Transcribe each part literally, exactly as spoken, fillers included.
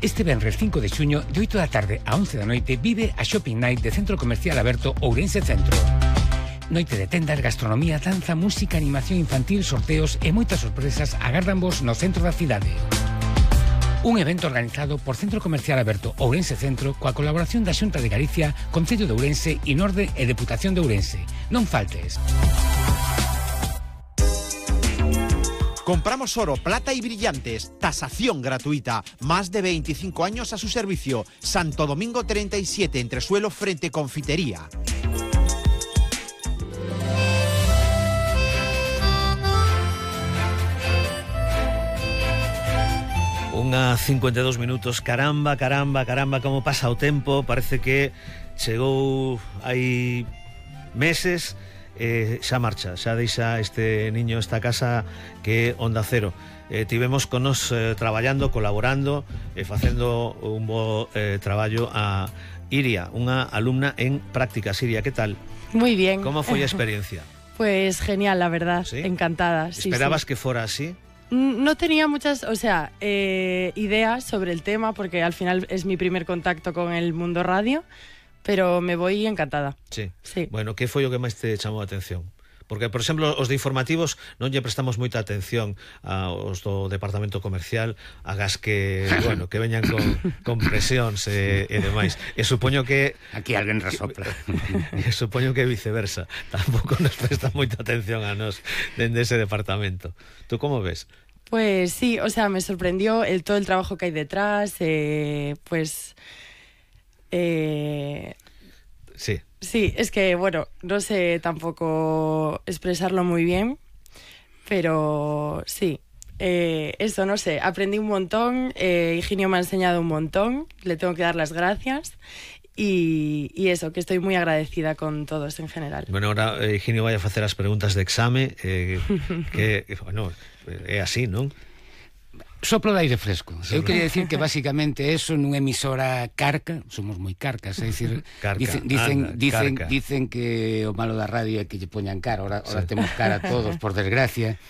Este venres cinco de xuño, de oito da tarde a once da noite, vive a Shopping Night de Centro Comercial Aberto Ourense Centro. Noite de tendas, gastronomía, danza, música, animación infantil, sorteos e moitas sorpresas agárdanvos no centro da cidade. Un evento organizado por Centro Comercial Aberto Ourense Centro coa colaboración da Xunta de Galicia, Concello de Ourense, Inorde e Deputación de Ourense. Non faltes. Compramos oro, plata y brillantes. Tasación gratuita. Más de veinticinco años a su servicio. Santo Domingo treinta y siete, entresuelo frente Confitería. Unha cincuenta e dous minutos. Caramba, caramba, caramba, como pasa o tempo. Parece que chegou hai meses. Eh, xa marcha, xa deixa este niño esta casa que é Onda Cero. Eh, tivemos con nos eh, traballando, colaborando e eh, facendo un bo eh, traballo a Iria, unha alumna en prácticas. Iria, que tal? Muy bien. Como foi a experiencia? Pues genial, la verdad, ¿sí? Encantada. ¿Esperabas sí, sí. que fuera así? No tenía muchas, o sea, eh, ideas sobre el tema, porque al final es mi primer contacto con el mundo radio. Pero me voy encantada. Sí. sí. Bueno, que foi o que máis te chamou a atención? Porque, por exemplo, os de informativos non lle prestamos moita atención aos do departamento comercial, agas que, bueno, que veñan con, con presións e, e demais. E supoño que... Aquí alguén resopla. E supoño que viceversa. Tampouco nos presta moita atención a nos dende ese departamento. Tú como ves? Pues sí, o sea, me sorprendió el, todo el trabajo que hay detrás, eh, pues... Eh, sí. Sí, es que, bueno, no sé tampoco expresarlo muy bien, pero sí, eh, eso, no sé, aprendí un montón, eh, Higinio me ha enseñado un montón, le tengo que dar las gracias y, y eso, que estoy muy agradecida con todos en general. Bueno, ahora eh, Higinio vai a facer as preguntas de exame, eh, que, bueno, é así, non? Soplo de aire fresco. Eu quería decir que basicamente eso nunha emisora carca, somos moi carcas, é dicir, carca, dicen dicen anda, dicen, carca. dicen que o malo da radio é que lle poñan cara, ahora, ahora sí. Temos cara todos, por desgracia.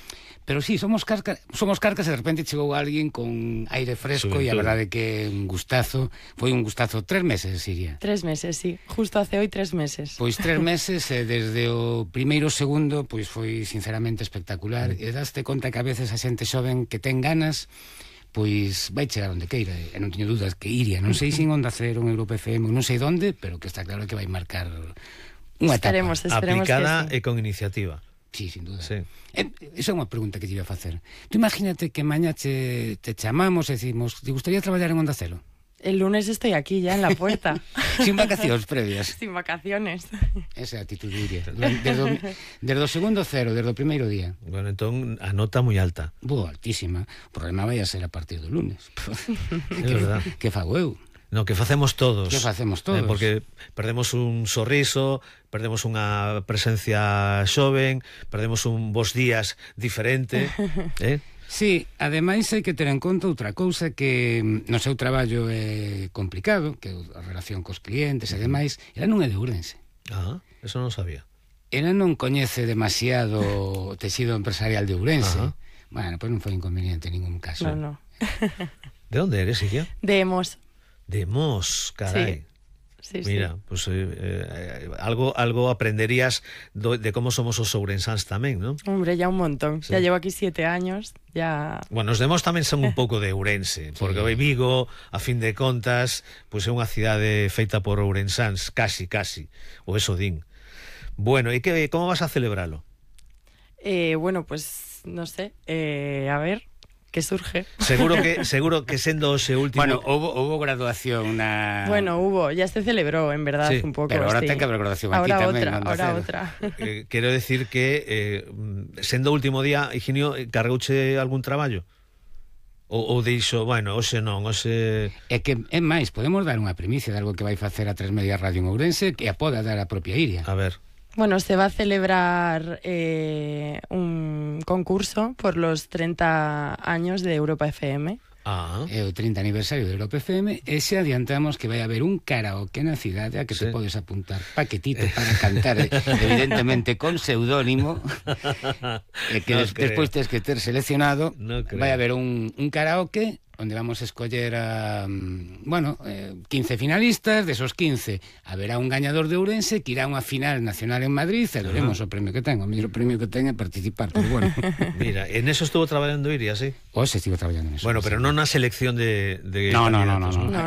Pero sí, somos carcas, somos carcas e de repente chegou alguén con aire fresco e a verdade que un gustazo, foi un gustazo tres meses, Siria. Tres meses, sí, justo hace hoy tres meses. Pois tres meses e desde o primeiro segundo pois foi sinceramente espectacular e daste conta que a veces a xente xoven que ten ganas pois vai chegar onde queira e non teño dúdas que Iria, non sei se en Onda Cero, en Europa F M, non sei onde, pero que está claro que vai marcar unha etapa. Esperemos, esperemos aplicada que sí. E con iniciativa. Sí, sin duda. Sí. Eh, esa é unha pregunta que te iba a facer. Tú imagínate que mañá te, te chamamos e decimos, te gustaría traballar en Onda Cero? El lunes estoy aquí ya en la puerta. Sin vacacións previas. Sin vacaciones. Esa é a actitud de Iria. Desde o, desde o segundo cero, desde o primeiro día. Bueno, entón a nota moi alta. Boa, altísima. O problema vai a ser a partir do lunes. É verdad. Que fago eu? No, que facemos todos. Que facemos todos. Eh, porque perdemos un sorriso, perdemos unha presencia xoven, perdemos un bos días diferente, eh? Sí, ademais hai que ter en conta outra cousa que no seu traballo é complicado, que a relación cos clientes e demais, ela non é de Ourense. Ah, eso non sabía. Ela non coñece demasiado o texido empresarial de Ourense. Ajá. Bueno, pois non foi inconveniente en ningún caso. No, no. De onde eres, Iria? De Mos. De Mos, carai. Sí, sí, Mira, sí. pues eh, eh, algo algo aprenderías do, de como somos os ourensáns tamén, ¿no? Hombre, ya un montón. Sí. Ya llevo aquí siete años, ya... Bueno, os demos tamén son un pouco de Ourense, porque sí. Vigo, a fin de contas, pois pues é unha cidade feita por ourensáns, casi, casi, ou eso din. Bueno, e que como vas a celebralo? Eh, bueno, pues no sé, eh, a ver... que surge. Seguro que seguro que sendo ese último... Bueno, hubo, hubo graduación na... Bueno, hubo, ya se celebró, en verdad, sí, un poco. Pero ahora sí. ten que haber graduación aquí ahora tamén. Otra, ahora otra. Eh, quero decir que eh, sendo o último día, Higinio, cargouche algún traballo? Ou, ou dixo, bueno, hoxe non, hoxe... É que, é máis, podemos dar unha primicia de algo que vai facer a Tres Media Radio en Ourense que a poda dar a propia Iria. A ver... Bueno, se va a celebrar eh, un concurso por los treinta años de Europa F M. Ah. É o trinta aniversario de Europa F M e se adiantamos que vai haber un karaoke na cidade a que sí. Te podes apuntar paquetito para cantar, evidentemente con pseudónimo, e que no des, despois tens que ter seleccionado. No vai haber un, un karaoke onde vamos a escoller a, bueno, eh, quince finalistas. De esos quince haberá un gañador de Ourense que irá a unha final nacional en Madrid e veremos o premio que ten. O mellor premio que ten é participar, pero bueno. Mira, en eso estuvo traballando Iria, sí? Hoxe estivo traballando en eso. Bueno, pero non na selección de, de no, no, no, no, candidatos, no, ¿no? No,